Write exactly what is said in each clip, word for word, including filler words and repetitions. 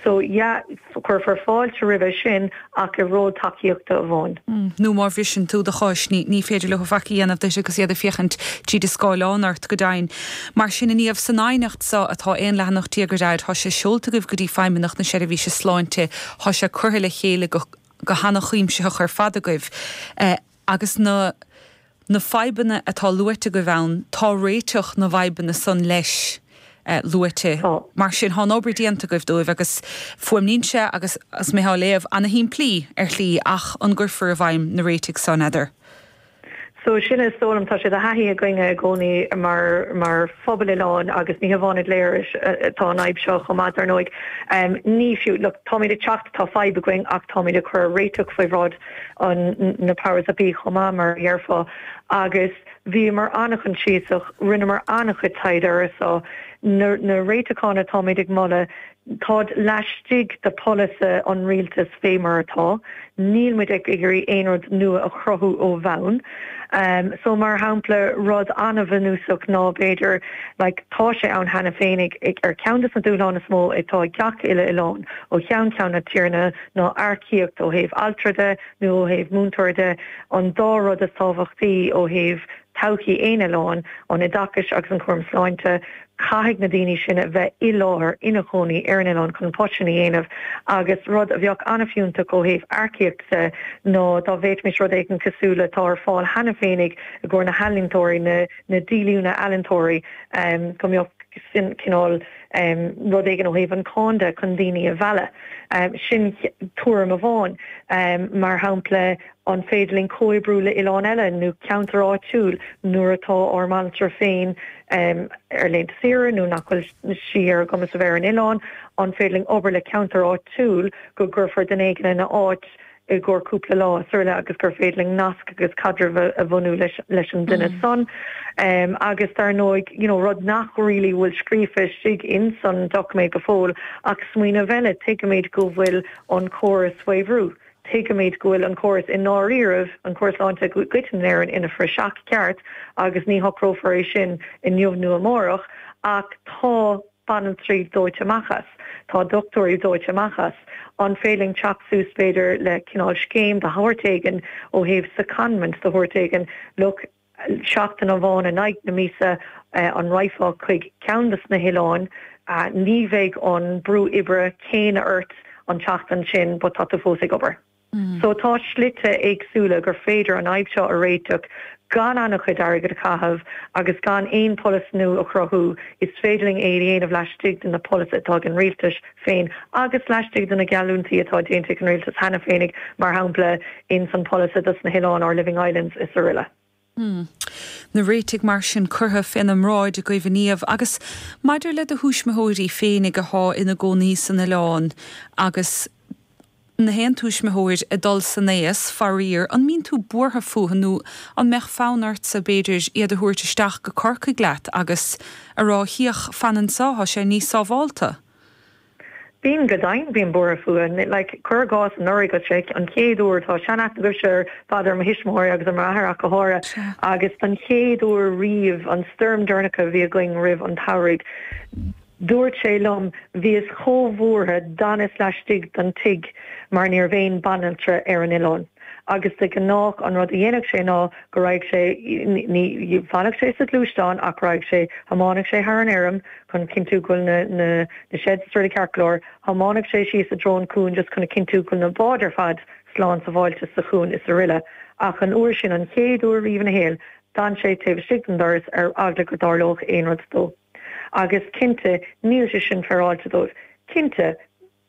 So yeah, cuirfear fáilte roimhe sin ach i ról tacaíochta amháin. Mm, nó má bhriseann tú do chois ní ní féidir leo faic a dhéanamh duit agus iad ag féachaint tríd an scáileán ort go deimhin. Mar sin inniu san aighneacht seo atá aon leathanach déag ar fhad, tá sé seolta agaibh go dtí Feidhmeannacht na Seirbhíse Sláinte, tá sé curtha le chéile go go han-chuimsitheach ar fad agaibh. Eh, agus na na fadhbanna atá luaite agaibh ann, tá réiteach na bhfadhbanna san leis. Uh, luaite oh. Mar sin tá obair déanta agaibh dóibh agus fuaimníonn sé agus as mé á léamh an-shimplí ar shlí ach an gcuirfear i bhfeidhm na réitigh san eadar. So sin is dóigh liom tá sé de thaithí againne i gcónaí mar mar phobal oileáin agus ní hamháin i Léiris atá an fhadhb seo chomh maith dar ndóigh. Um, ní fiú look, táimid ag teacht tá fadhb againn ach táimid ag cur réiteach faoi bhráid an na powers that be chomh maith mar a déarfá agus bhíomar an-choinsiasach rinneamar an-chuid taighde ar so na, na réiteacháin atáimid ag moladh táid laistigh de pholasaithe an rialtais fé mar atá, níl muid ag iarraidh aon rud nua a chruthú ó bhonn. Um, so mar shampla rud an-bhunúsach ná b'fhéidir like, tá sé ann cheana féin ar ceann de na dúshláin is mó atá ag gach uile oileán ó cheann ceann na tíre ná earcaíocht ó thaobh altra de nó ó thaobh múinteoir de an dá rud is tábhachtaí ó thaobh todhchaí aon oileáin an oideachais agus an cúram sláinte caithfidh na daoine sin a bheith i láthair ina gcónaí ar an oileán chun post sin a dhéanamh agus rud a bheadh an-fhiúntach ó thaobh earcaíochta ná dá bhféadfaimis rud éigin cosúil le atá ar fáil cheana féinig i gcomhair na healaíontóirí na na díolúine ealaíontóirí um, go mbeadh sin cineál um, rud éigin ó thaobh an cháin de chun daoine a mhealladh. Um, sin tuairim amháin um, mar shampla an féidir linn comhoibriú le oileán eile nó ceantar áitiúil nuair atá ár mbanaltra féin um, ar laethanta saoire nó nach bhfuil sí ar a gcumas a bheith ar an oileán, an féidir linn obair le ceantar áitiúil go gcuirfear duine éigin ina áit i gcomhair cúpla lá sula agus gur féidir linn nasc agus caidreamh a bhunú leis, leis an duine mm. san. Um, agus dar ndóigh you know, rud nach really bhfuil scríofa istigh in san doiciméad go fóill ach smaoineamh eile tuigimid go bhfuil an córas faoi bhrú. Tuigimid go bhfuil an córas i ndáiríre an córas sláinte go in Éirinn ina phraiseach ceart agus ní shocrófar é sin inniu nó amárach ach tá banaltraí dóite amach as. Tá dochtúirí dóite amach as. An féidir linn teacht suas b'fhéidir le cineál scéim de shórt éigin ó thaobh secondment de shórt éigin look seachtain amháin in aghaidh na míosa uh, an rachfá chuig ceann de na hoileáin uh, ní bheidh an brú oibre céanna ort an tseachtain sin but tá tú fós ag obair. Mm. So tá slite éagsúla gur féidir an fhadhb seo a réiteach gan an-chuid airgead a chaitheamh agus gan aon pholasaí nua a chruthú is féidir linn é a dhéanamh laistigh de na polasaithe atá ag an rialtas féin agus laistigh de na geallúintí atá déanta ag an rialtas cheana féinig mar shampla in san polasaí dos na hoileáin our Living Islands is araile. Hmm. Na réitigh mar sin curtha faoina mbráid agaibh inniu agus maidir le do thuismitheoirí féinig atá ina gcónaí san oileán agus na haon tuismitheoir ag dul san aois faraor an mbíonn tú buartha fúthu nó an mbeadh fonn ortsa b'fhéidir iad a thabhairt isteach go Corcaigh leat agus a rá thíoch fan anseo tá sé níos sábháilte. Bíonn go deimhin bím buartha fúthu like cuir i gcás anuraidh sé an chéad uair tá seanaithne agamsa ar fad ar mo thuismitheoirí agus ar m'athair ach go háirithe agus an chéad uair riamh an stoirm deireanach a bhí againn roimh an tsamhradh. Dúirt sé liom bhíos chomh buartha d'fhanas laistigh den tigh mar ní raibh aon banaltra ar an oileán. Agus de ghnáth an rud a dhéanadh sé ná go raghadh sé ní bhfanadh sé sa ghluaisteán ach raghadh sé thiomáineadh sé thar an fheirm chun cinntiú go bhfuil na na na sheds rudaí ceart go leor, thiomáineadh sé síos i dtreo an cuain just chun a chinntiú go bhfuil na báid ar fad slán sábháilte sa chuan is araile. Ach an uair sin an chéad uair riamh ina shaol, d'fhan sé taobh istigh den doras ar eagla go dtarlódh aon rud dó. Agus cinnte níl sé sin féaráilte dóibh. Cinnte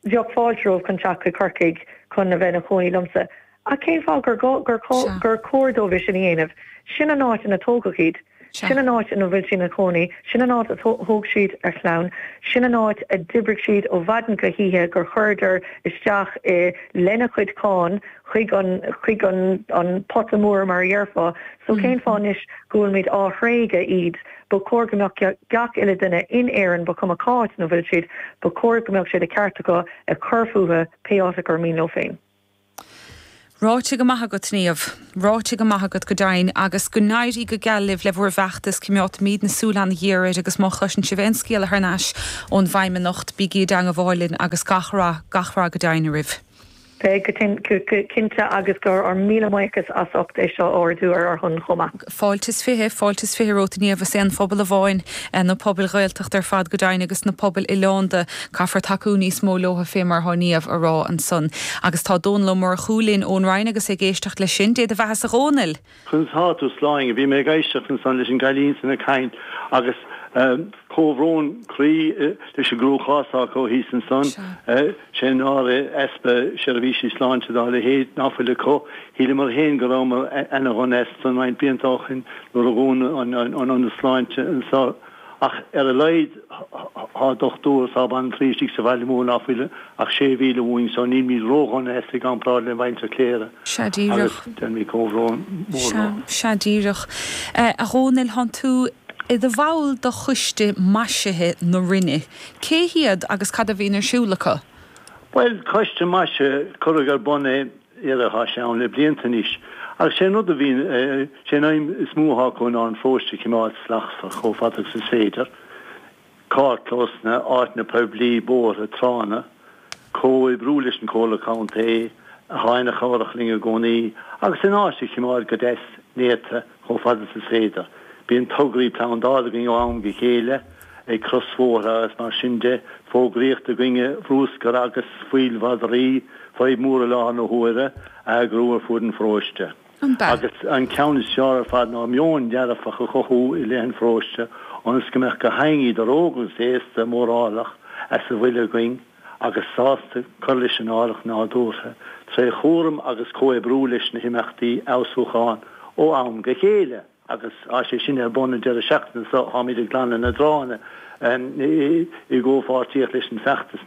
bheadh fáilte rompu chun teacht chuig Corcaigh chun a bheith ina chónaí liomsa. Ach cén fáth gur gur gur chóir dóibh sin a dhéanamh, sin an áit ina tógadh iad, sin an áit ina bhfuil siad ina chónaí, sin an áit a thóg siad a chlann, sin an áit a d'oibrigh siad ó mhaidin go hoíche gur chuireadar isteach i lena chuid cáin chuig an chuig an an pota mór mar a dhéarfá, so cén fáth anois go bhfuilimid á thréigeadh iad, ba chóir go mbeadh gach uile duine in Éirinn ba chuma cá háit ina bhfuil siad, ba chóir go mbeadh sé de cheart acu ag cur fúthu pé áit gur mian leo féin. Ráite go maith agat Niamh, ráite go maith agat go deimhin agus go n-éirí go geal libh le bhur bhfeachtas coimeádfaimid na súile an-ghéar air agus má chloiseann sibh aon scéala thar n-ais ón bhFeidhmeannacht bígí i dteangmháil linn agus gach rath gach rath go deimhin oraibh. Beidh go cinnte agus gur ár míle buíochas as ucht é seo a ardú ar ár shon chomh maith. Fáilte is fiche, fáilte is fiche romhat Niamh is aon phobal amháin na pobail Ghaeltachta ar fad go deimhin agus na pobail oileánda caithfear tacú níos mó leo fé mar atá Niamh a rá ansan. Agus tá Dónal Ó Murchú linn ón Rinn agus ag éisteacht leis sin, Dé do bheatha a Dhónaill. Conas tá tú Sláine, bhí mé ag éisteacht ansan leis an gcailín san ag caint agus Comhbhrón croí leis an gcruachás acu thíos ansan. Sé náire easpa seirbhísí sláinte dá leithéid ná fuil acu. Shíleamar féin go rabhamar ana-dhona as san roinnt blianta ó shin nuair a dhúnadh an ionad sláinte anso. Ach ar a laghad tá dochtúir is tá baintrí istigh sa bhaile mór ná fuil ach sé mhíle uainn so nílimid ródhona as i gcomparáid le muintir Chléire. Sea díreach. Agus déanaimid comhbhrón mór leo. Sea, sea díreach. A Dhónaill, thánn tú i do bhall de choiste maisithe na Rinne. Cé hiad agus cad a bhíonn ar siúl acu? Bhuel, coiste maisithe, cuireadh ar bun é, dhera, tá sé ann le blianta anois. Agus sé an rud a bhíonn, sé an aidhm is mó atá acu ná an pharóiste a choimeád slachtmhar chomh fada agus is féidir. Carrchlósanna, áiteanna poiblí, bóithre, tránna. Comhoibriú leis an Chomhairle Contae, atá ina chabhrach linn i gcónaí, agus an áit a choimeád go deas néata chomh fada is is féidir. Bíonn tograí plandála againn ó am go chéile, ag crosbhóithre agus mar sin de, fógraíocht i gcoinne bhrúscair agus fuíoll mhadraí, fadhb mhór i láthair na huaire, a eagrú ar fuaid an pharóiste. Agus an ceann is fearr ar fad ná meon dearfach a chothú i leith an pharóiste ionas go mbeadh gach éinne idir óg agus aosta mórálach as a bhfuil againn agus sásta cur leis an áilleacht nádúrtha tré chúram agus comhoibriú leis na himeachtaí fheabhsúcháin ó am go chéile. Agus tá sé sin ar bun an deireadh seachtaine seo, táimid ag glanadh na dtránna i gcomhpháirtíocht leis an bhfeachtas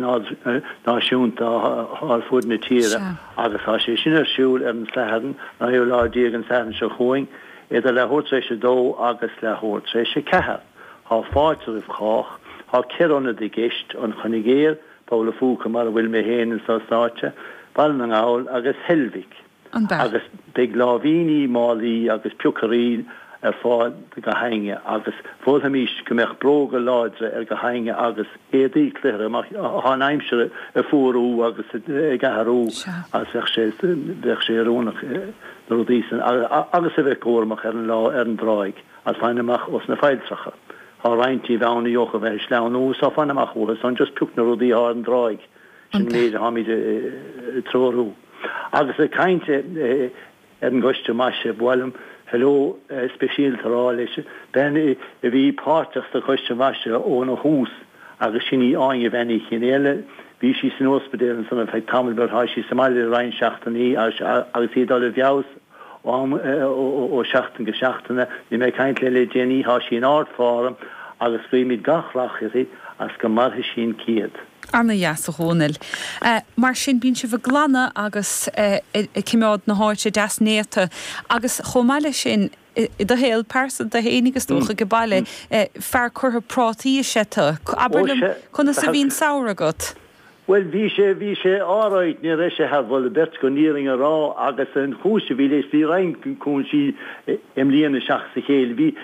náisiúnta atá ar fuaid na tíre agus tá sé sin ar siúl ar an Satharn, naoú lá déag an Satharn seo chugainn, idir leathuair tar éis a dó agus leathuair tar éis a ceathair. Tá fáilte roimh chách. Tá ceithre ionad i gceist, An Coinigéar, Poll a' Phúca mar a bhfuil mé féin anso sáite, Baile na nGall agus Heilbhic. Agus beidh láimhíní, málaí agus piocairí ar fáil do gach éinne agus mholfaimis go mbeadh bróga láidre ar gach éinne agus éadaí cluichire mar tá an aimsir ag fuarú agus ag athrú agus bheadh sé bheadh sé oiriúnach na rudaí san agus a bheith cúramach ar an lá ar an dtráigh agus fan amach ós na failltreacha. Tá roinnt díobh ann a gheobhadh a bheith ag sleamhnú so fan amach uathu san just pioc na rudaí atá ar an dtráigh. Sin an méid atáimid ag treorú. Agus ag caint ar an gcoiste maisithe, ba mhaith liom hello speisialta a rá leis bean a bhí páirteach sa choiste maisithe óna thús agus sin í Áine Bhean Uí Chionnaola. Bhí sí san ospidéal ansan ar feadh tamaill but tá sí sa mbaile le roinnt seachtainí agus í ag dul i bhfeabhas ó sheachtain go seachtain. Bhí mé ag caint léi le déanaí, tá sí in ard-form agus guímid gach rath uirthi agus go mairfidh sí an céad. Ana dheas a Dhónaill. Mar sin bíonn sibh ag glanadh agus ag coimeád na háite deas néata agus chomh maith leis sin i do shaol pearsanta fhéinig is dócha ag baile, fear curtha prátaí is ea tú. Abair liom conas a bhí an samhradh agat? Bhuel, bhí sé, bhí sé alright, ní raibh sé thar mholadh beirte chun an fhírinne a rá agus an chúis a bhí leis, bhí roinnt cúinsí i mbliana seachas a chéile. Bhí,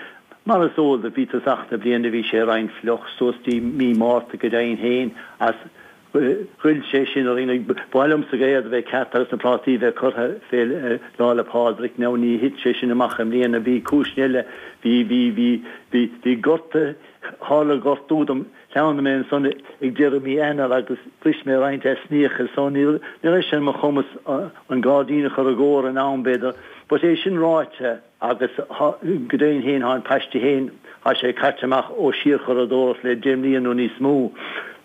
mar is eol duit, bhí tosach na bliana, bhí sé roinnt fliuch, suas dtí mí Márta go deimhin féin agus ghoill sé sin orainn. Ba mhaith liomsa an gaoth a bheith ceart agus na prátaí a bheith curtha fé Lá 'le Pádraig. Now ní thit sé sin amach i mbliana, bhí cúiseanna eile, bhí, bhí, bhí, bhí, bhí gorta, tharla gortú dom, Shleamhnaigh mé ansan ag deireadh mí Eanáir agus bhris mé roinnt easnaíocha so ní raibh sé ar mo chumas an gairdín a chur i gcóir in am b'fhéidir. But é sin ráite agus go deimhin féin tá an paiste féin, tá sé caite amach ó síorchuradóireacht le deich mbliana nó níos mó.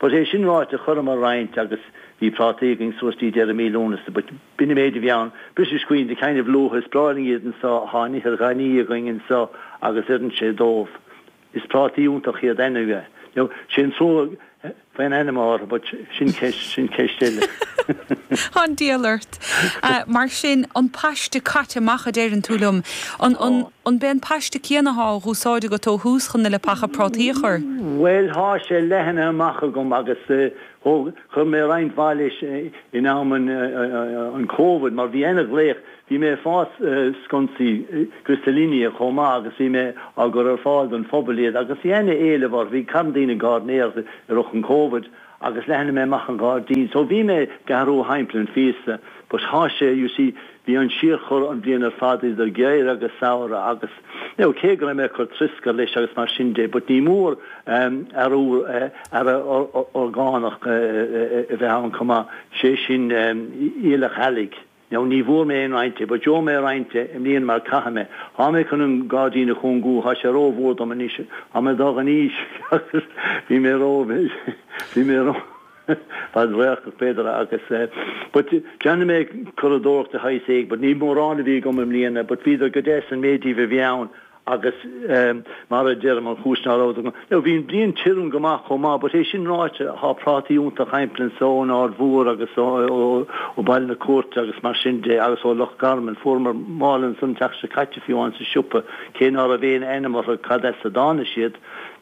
But é sin ráite chuireamar roinnt agus bhí prátaí againn suas dtí deireadh mí Lúnasa but b'in an méid a bhí ann. Briseadh scuaine de kind of luath, is breá linn iad anso, tá an ithir ghainní againn anso agus oireann sé dóibh. Is prátaí iontach iad anyway. Now, sé an trua faoin ainm orthu but sin ceist sin ceist eile. An diabhal ort. Mar sin, an paiste caite amach a deireann tú liom. An an an b'é an paiste céanna athá á úsáid agat ó thús chun na leapacha prátaí a chur? Bhuel, thá sé leathnaithe amach agam agus thóg, chuir mé roinnt mhaith leis in am an an Covid mar bhí ana-ghlaoch, bhí mé ag fás sconsaí Griselinia chomh maith agus bhí mé á gcur ar fáil don phobal iad agus bhí ana-éileamh orthu, bhí carn daoine gairdinéireacht i rith an Covid agus leathnaigh mé amach an gairdín so bhí mé ag athrú thimpeall an phíosa but thá sé you see bhí an síorchur an bhliain ar fad idir geimhreadh agus samhradh agus you know cé go raibh mé ag cur troscair leis agus mar sin de but ní mór athrú earra orgánach a bheith ann chomh maith sé sin aoileach eallaigh. Now ní bhfuair mé aon roinnt de but gheobhaidh mé roinnt de i mbliana mar caithfidh mé. Thá mé chun an gairdín a chúngú, thá sé ró-mhór dom anois, thá mé ag dul in aois agus bhí mé ró, bhí mé ró fadradharcach b'fhéidir agus eh but déanfaidh mé curadóireacht de shaghas éigin but ní mórán a bhí agam i mbliana but bhíodar go deas an méid díobh a bhí ann. Agus mar a deirim, an chúis ná raibh agam, now bhí an bliain tirim go maith chomh maith, but é sin ráite, thá prátaí iontach thimpeall anso ón Aird Mhór agus ó Baile na Cúirte agus mar sin de agus ó Loch Garman, fuaireamar mála ansan an tseachtain seo caite fiú amháin sa siopa, cé ná raibh aon ainm orthu cad as a dtáinig siad.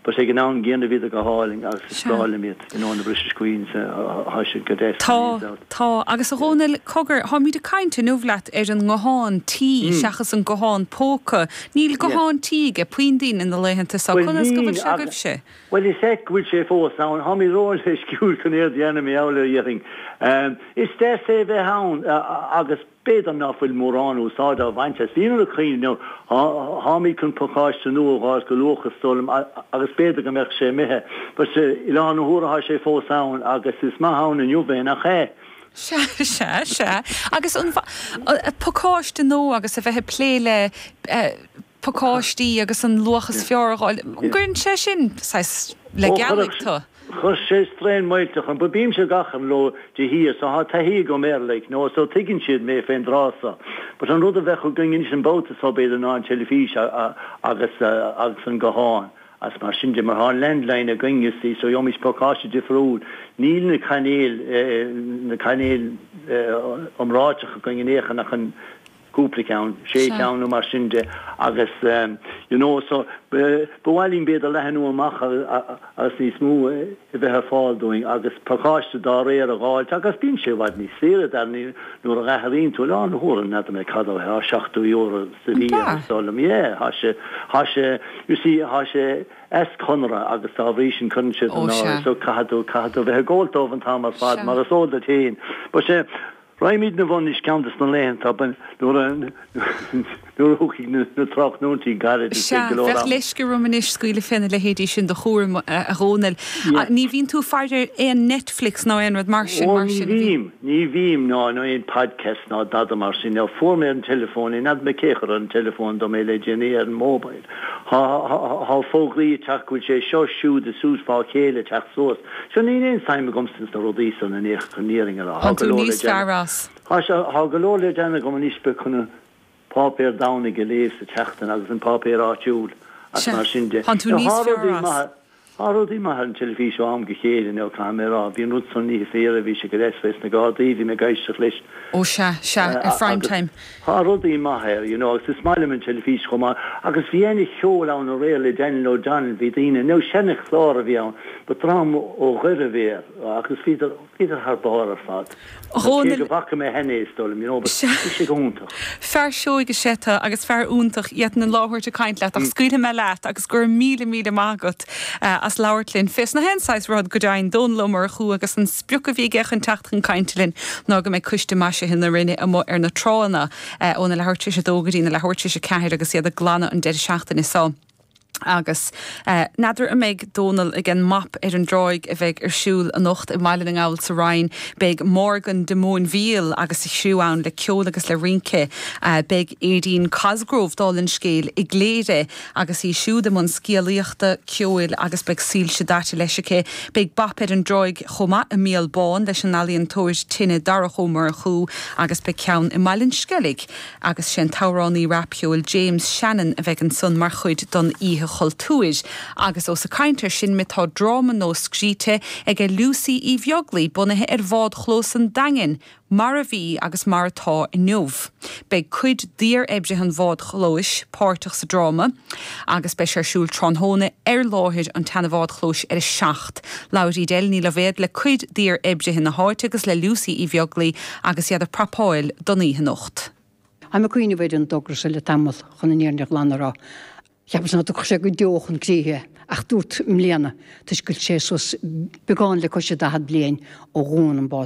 But ag an am gcéanna bhíodar go hálainn agus is breá liom iad, you know, na British Queens, thá siad go deas. Tá, tá. Agus a Dhónaill, cogar, táimid ag caint inniu leat ar an nguthán tí seachas an guthán póca. Níl guthán tí ag puinn daoine na laethanta seo. Bhuel Conas go níl bhfuil sé agus, agaibhse? bhuel is ait go bhfuil sé fós ann. Tháimid róleisciúil chun é a dhéanamh, mar gheall air, déarfainn. Is deas é bheith ann agus B'fhéidir ná fuil mórán úsáid á bhaint as. Bhíomar ag cuimhneamh, tháimid chun pacáiste nua a dh'fháilt go luath is dóigh liom agus b'fhéidir go mbeadh sé imithe. But i láthair na huaire thá sé fós ann agus is maith ann inniu é, nach ea? Sea, sea, sea. Agus an pacáiste nua agus a bheith ag plé le pacáistí agus an luach is fearr a dh'fháil, an gcuireann sé sin saghas le Ó, gealaigh chuirfeadh tú? Chuir sé straidhn mhillteach orm, but bímse gach aon ló de shíor so thá taithí agam air like, know, so tuigeann siad mé fén dtráth so. But an rud a bheadh againn anois an babhta so b'fhéidir ná an teilifís agus agus an guthán agus mar sin de mar thá an landline againn you see so gheobhaimis pacáiste difriúil. Níl na cainéil na cainéil iomráiteacha againn in aon chor ach an cúpla ceann, sé Sea. cheann nó mar sin de agus you know so ba mhaith linn b'fhéidir leathnú amach agus níos mó a bheith ar fáil dúinn agus pacáiste dá réir a dh'fháilt agus bíonn sé i bhfad níos saoire dar ndóigh nuair a athraíonn tú lá na huaire n'fheadar mé cad é seachtó euro sa An mhí b'ea? is dóigh liom yeah thá sé thá sé you see thá sé as conradh agus dá bhrí sin cuireann siad Ó in sea. áirithe so caithfidh tú caithfidh tú bheith ag gabháil dóibh an t-am ar fad Sea. mar is eol duit féin but sé Raghaimid 'na bhun anois ceann de na laethanta nuair a nuair a thiocfaidh na tráthnóintí gairid is Sea, beidh go leor bheadh ama. leisce orm anois scaoileadh féna leithéidí sin de chúram, a Dhónaill. Yeah. Ní bhíonn tú ag faire ar aon Netflix ná aon rud mar sin, Ó mar ní sin, a bhí? bhím, ní bhím ná ná aon podcast ná dada mar sin. Now fuair mé ar an teileafón é, n'fheadar mé cé a chuir ar an teileafón dom é le déanaí ar an mobile. Thá thá fógraí ag teacht go bhfuil sé seo siúd is súd fá chéile ag teacht suas. So níl aon suim agamsa ins na rudaí san in aon chor chun an fhírinne a rá. Thá Tá go tú leor le níos déanamh. fearr as. Thá sé, thá go leor le déanamh agam anois beag chun an páipéar Domhnaigh a léamh sa tseachtain agus an páipéar áitiúil agus Sea, mar sin de. tá tú Now níos thá fearr rudaí as. maithe, thá rudaí maithe ar an teilifís ó am go chéile now caithfidh mé a rá. Bhí an rud san oíche fé dheireadh, bhí sé go deas fés na Gardaí, bhí mé ag éisteacht leis. Ó sea, sea, ar Prime Agus Time. thá rudaí maithe air, you know, agus is maith liom an teilifís chomh maith. Agus bhí ana cheol ann aréir le Daniel O'Donnell, bhí daoine, now seana chlár a bhí ann, but dream ó Dhoire a bhí air agus bhíodar, bhíodar thar barr ar fad. Cé go bhfaca mé cheana é is dóigh liom, you know, but bhí sé go hiontach. Fear seoigh is ea tú agus fear iontach, d'fhéadfainn labhairt ag caint leat ach scaoilfidh mé leat agus go raibh míle míle maith agat as labhairt linn. Fés na haon saghas rud go deimhin, Dónal Ó Murchú agus an sprioc a bhí aige chun teacht chun cainte linn ná go mbeidh Coiste Maisithe na Rinne amuigh ar na tránna óna leathuair tar éis a dó go dtí na leathuair tar éis a ceathair agus iad ag glanadh an deireadh seachtaine seo. Agus n'fheadar an mbeidh Dónal ag an mBap ar an dTráigh a bheidh ar siúl anocht i mBaile na nGall sa Rinn. Beidh Morgan de Móinbhíol agus a chriú ann le ceol agus le rince. Beidh Aedín Cosgrove dála an scéil i gCléire agus í siúd i mbun scéalaíochta, ceoil agus beidh soilse daite leis aici. Beidh Bap ar an dTráigh chomh maith i Míol Bán leis an ealaíontóir tine Darach Ó Murchú agus beidh ceann i mBaile an Sceilg agus sé an t-amhránaí rapcheoil James Shannon a bheidh ansan mar chuid don oíche Chultúir. Agus ós ag caint ar sin muid tá dráma nua scríte ag Lucy Uí Bheaglaoi bunaithe ar bhádchlós an Daingin, mar a bhí agus mar atá inniu. Beidh cuid d'iar-oibrithe an bhádchlóis páirteach sa dráma agus beidh sé ar siúl tráthnóna ar láthair an tseana-bhádchlóis ar a seacht. Labhair Edel Ní Loibhéad le cuid d'iar-oibrithe na háite agus le Lucy Uí Bheaglaoi agus iad ag prapáil don oíche anocht. Tá mé ag cuimhneamh ar an dtogra seo le tamall chun an fhírinne ghlan a rá. Cheapas nach dtiocfadh sé go deo chun críche ach dúirt i mbliana toisc go bhfuil sé suas beagán le cois daichead bliain ó dhún an bád.